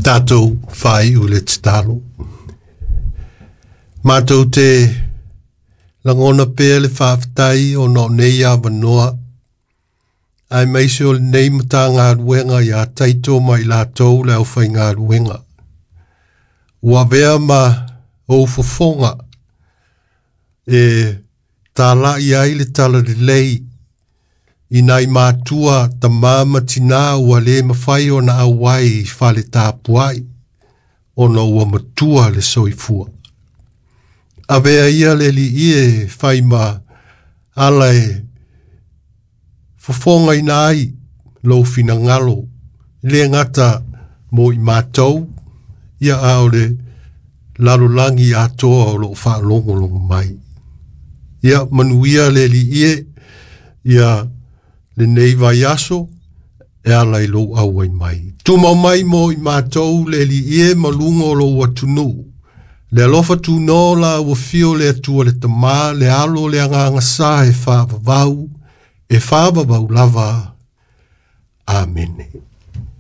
Tatou faaiu le tatalo. Matou te lagona pea le faafetai ona o nei avanoa, aemaise o lenei Matagaluega ia Taito ma i latou le aufaigaluega. Ua avea ma ou fofoga e talai ai le talalelei i nai matua tama ma tinā ua le mafai ona auai i fale tapuai ona ua matua le soifua. Avea ia le alii e fai ma ala e fofogaina ai lou finagalo, le gata mo i matou, ia a o le lalolagi atoa o loo faalogologo mai. Ia manuia le alii e, ia lenei vaiaso e ala i lou auai mai. Tumau mai mo i matou le alii e ma luga o lou atunuu. Le alofa tuno la ua fio le Atua le Tama, le Alo, le Agaga Sa e faavavau, e faavavau lava. Amene.